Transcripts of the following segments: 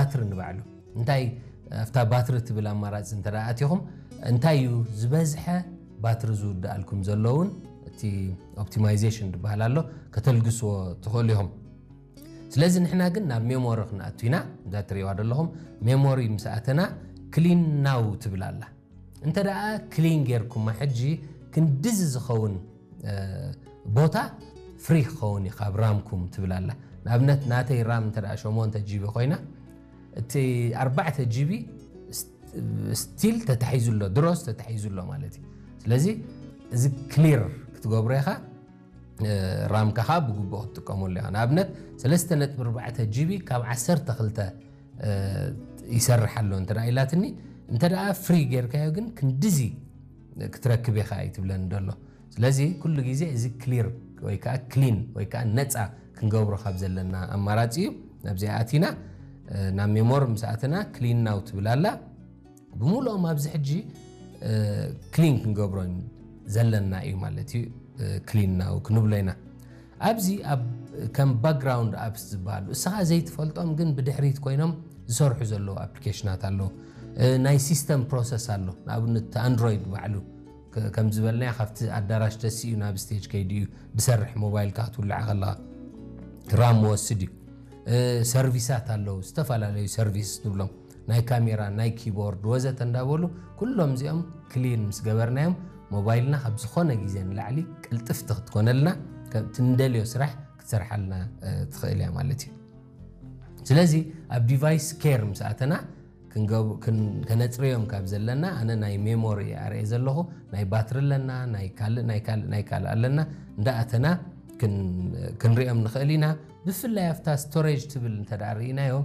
ባትሪ ንባዕሉ እንታይ ኣብታ ባትሪ ትብል ኣማራፂ እንተ ኣቲኹም እንታይ እዩ ዝበዝሐ ባትሪ ዝውድኣልኩም ዘለውን እቲ ኦፕቲማይዜሽን ዝበሃል ኣሎ ከተልግስዎ ትኽእሉ ኢኹም። ስለዚ ንሕና ግን ናብ ሜሞሪ ክንኣቱ ኢና። እዛ ትሪእዋ ዘለኹም ሜሞሪ ምስ ኣተና ክሊን ናው ትብል ኣላ። እንተ ደኣ ክሊን ጌርኩማ ሕጂ ክንድዚ ዝኸውን ቦታ ፍሪ ክኸውን እዩ ካብ ራምኩም ትብል ኣላ። ንኣብነት ናተይ ራም እንተ ሸሞንተ ጂቢ ኮይና እቲ ኣርባዕተ ጂቢ ስቲል ተታሒዙ ኣሎ፣ ድሮስ ተታሒዙ ኣሎ ማለት እዩ። ስለዚ እዚ ክሊር ክትገብሮ ኢኻ። ራምካ ከዓ ብግቡእ ክትጥቀመሉ ኢኻ። ንኣብነት ሰለስተ ነጥቢ ኣርባዕተ ጂቢ ካብ ዓሰርተ ክልተ ይሰርሕ ኣሎ እንተ ኢላትኒ፣ እንተ ፍሪ ጌርካዮ ግን ክንድዚ ክትረክብ ኢኻ እዩ ትብለኒ ደሎ። ስለዚ ኩሉ ግዜ እዚ ክሊር ወይ ከዓ ክሊን ወይ ከዓ ነፃ ክንገብሮ ካብ ዘለና ኣማራፂ እዩ። ናብዚኣ ኣቲና ናብ ሜሞሪ ምስ ኣተና ክሊን ናው ትብል ኣላ። ብምሉኦም ኣብዚ ሕጂ ክሊን ክንገብሮ ዘለና እዩ ማለት እዩ። ክሊን ናው ክንብሎ ኢና። ኣብዚ ኣብ ከም ባክግራውንድ ኣፕስ ዝበሃሉ እስኻ ዘይትፈልጦም ግን ብድሕሪት ኮይኖም ዝሰርሑ ዘለዉ ኣፕሊኬሽናት ኣለዉ። ናይ ሲስተም ፕሮሰስ ኣሎ። ንኣብነት ኣንድሮይድ ባዕሉ ከም ዝበልናዮ ካብቲ ኣዳራሽ ተሲኡ ናብ ስቴጅ ከይዱ እዩ ዝሰርሕ። ሞባይልካ ክትውልዓ ከለኻ ራም ወስድ እዩ። ሰርቪሳት ኣለዉ፣ ዝተፈላለዩ ሰርቪስ ንብሎም ናይ ካሜራ ናይ ኪቦርድ ወዘተ እንዳበሉ ኩሎም እዚኦም ክሊን ምስ ገበርናዮም ሞባይልና ካብ ዝኾነ ግዜ ንላዕሊ ቅልጥፍቲ ክትኮነልና ትንደልዮ ስራሕ ክትሰርሓልና ትኽእል እያ ማለት እዩ። ስለዚ ኣብ ዲቫይስ ኬር ምስ ኣተና ከነፅርዮም ካብ ዘለና ኣነ ናይ ሜሞሪ ኣርኤ ዘለኹ ናይ ባትሪ ኣለና ናይ ካልእ ናይ ካልእ ናይ ካልእ ኣለና እንዳኣተና ክንሪኦም ንኽእል ኢና። ብፍላይ ኣብታ ስቶሬጅ ትብል እንተ ርኢናዮም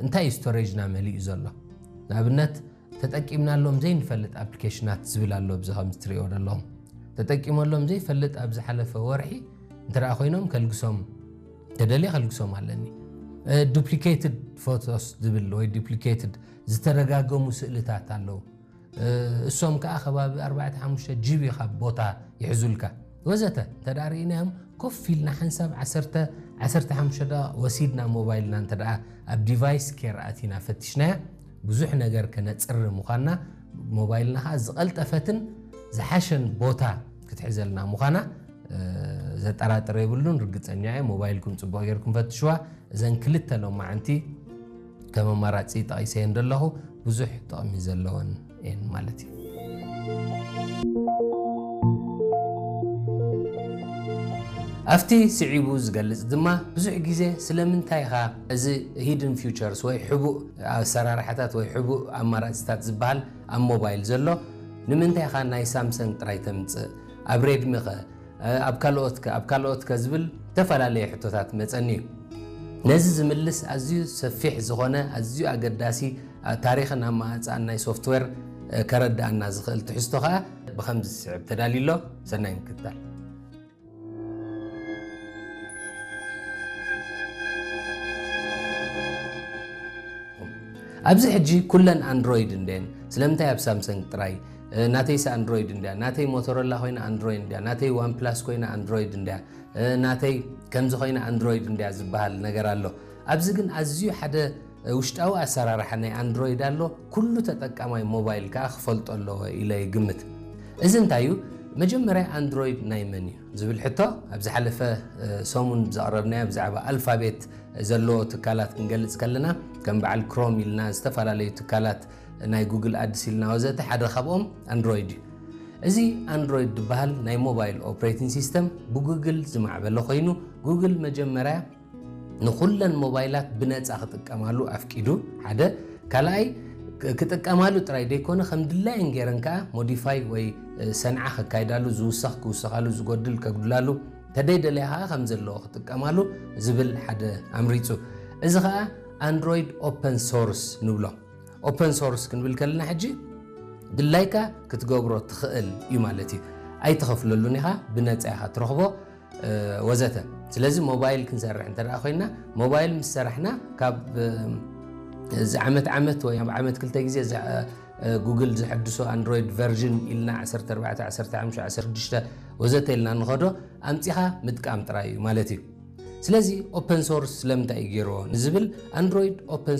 እንታይ እዩ ስቶሬጅና መሊኡ ዘሎ ንኣብነት ተጠቂምናሎም ዘይንፈልጥ ኣፕሊኬሽናት ዝብል ኣሎ። ብዚ ከም ትሪኦ ዘለኹም ተጠቂመሎም ዘይፈልጥ ኣብ ዝሓለፈ ወርሒ እንተ ኮይኖም ከልግሶም ተደልየ ከልግሶም ኣለኒ። ዱፕሊኬትድ ፎቶስ ዝብል ወይ ዱፕሊኬትድ ዝተደጋገሙ ስእልታት ኣለዉ። እሶም ከዓ ከባቢ ኣርባዕተ ሓሙሽተ ጂቢ ካብ ቦታ ይሕዙልካ ወዘተ እንተ ርኢናዮም ኮፍ ኢልና ሓንሳብ ዓሰርተ ዓሰርተ ሓሙሽተ ደቂቕ ወሲድና ሞባይልና እንተ ኣብ ዲቫይስ ኬር ኣቲና ፈቲሽናያ ብዙሕ ነገር ከነፅሪ ምዃንና ሞባይልና ከዓ ዝቐልጠፈትን ዝሓሸን ቦታ ክትሕዘልና ምዃና ዘጠራጥር የብሉን። ርግፀኛ እየ ሞባይልኩም ፅቡቕ ጌርኩም ፈትሽዋ። እዘን ክልተ ሎማዓንቲ ከም ኣማራፂ ጠቒሰየን ዘለኹ ብዙሕ ጥቕሚ ዘለወን እየን ማለት እዩ። ኣብቲ ስዒቡ ዝገልጽ ድማ ብዙሕ ግዜ ስለምንታይ ኢኻ እዚ ሂድን ፊውቸርስ ወይ ሕቡእ ኣሰራርሓታት ወይ ሕቡእ ኣማራጺታት ዝበሃል ኣብ ሞባይል ዘሎ ንምንታይ ኢኻ ናይ ሳምሰንግ ጥራይ ተምጽእ ኣብ ሬድሚ ኸ ኣብ ካልኦት ከ ኣብ ካልኦት ከ ዝብል ዝተፈላለየ ሕቶታት መጸኒ እዩ። ነዚ ዝምልስ ኣዝዩ ሰፊሕ ዝኾነ ኣዝዩ ኣገዳሲ ታሪኽን ኣመኣጽኣን ናይ ሶፍትዌር ከረድኣና ዝኽእል ትሕዝቶ ኸኣ ብኸምዚ ዝስዕብ ተዳልዩ ኣሎ። ሰናይ ምክትታል። ኣብዚ ሕጂ ኩለን ኣንድሮይድ እንድየን ስለምንታይ ኣብ ሳምሰንግ ጥራይ ናተይስ ኣንድሮይድ እንድያ ናተይ ሞቶሮላ ኮይና ኣንድሮይድ እንድያ ናተይ ዋን ፕላስ ኮይና ኣንድሮይድ እንድያ ናተይ ከምዚ ኮይና ኣንድሮይድ እንድያ ዝበሃል ነገር ኣሎ። ኣብዚ ግን ኣዝዩ ሓደ ውሽጣዊ ኣሰራርሓ ናይ ኣንድሮይድ ኣሎ። ኩሉ ተጠቃማይ ሞባይል ከዓ ክፈልጦ ኣለዎ ኢለ ይግምት። እዚ እንታይ እዩ? መጀመርያ ኣንድሮይድ ናይ መን እዩ ዝብል ሕቶ ኣብ ዝሓለፈ ሰሙን ዘቕረብናዮ ብዛዕባ ኣልፋቤት ዘለዎ ትካላት ክንገልፅ ከለና ከም በዓል ክሮም ኢልና ዝተፈላለዩ ትካላት ናይ ጉግል ኣድስ ኢልና ወዘተ ሓደ ካብኦም ኣንድሮይድ እዩ። እዚ ኣንድሮይድ ዝበሃል ናይ ሞባይል ኦፕሬቲንግ ሲስተም ብጉግል ዝማዕበለ ኮይኑ ጉግል መጀመርያ ንኹለን ሞባይላት ብነፃ ክጥቀማሉ ኣፍቂዱ ሓደ ካልኣይ ክጥቀማሉ ጥራይ ዘይኮነ ከም ድላየን ገይረን ከዓ ሞዲፋይ ወይ ሰንዓ ከካይዳሉ ዝውሰኽ ክውሰኻሉ ዝጎድል ከጉድላሉ ተደይደለያ ከዓ ከም ዘለዎ ክጥቀማሉ ዝብል ሓደ ኣምሪፁ። እዚ ከዓ ኣንድሮይድ ኦፐን ሶርስ ንብሎ። ኦፐን ሶርስ ክንብል ከለና ሕጂ ድላይካ ክትገብሮ ትኽእል እዩ ማለት እዩ። ኣይትኸፍለሉን ኢኻ፣ ብነፃ ኢኻ ትረኽቦ ወዘተ። ስለዚ ሞባይል ክንሰርሕ እንተ ኮይና ሞባይል ምስ ሰራሕና ካብ እዚ ዓመት ዓመት ወይ ኣብ ዓመት ክልተ ግዜ ጉግል ዘሐድሶ ኣንድሮይድ ቨርዥን ኢልና ዓሰርተ ኣርባዕተ ዓሰርተ ሓሙሽተ ዓሰርተ ሽዱሽተ ወዘተ ኢልና ንኸዶ ኣምፂኻ ምጥቃም ጥራይ እዩ ማለት እዩ። ስለዚ ኦፐን ሶርስ ስለምንታይ እዩ ገይርዎ ንዝብል ኣንድሮይድ ኦፐን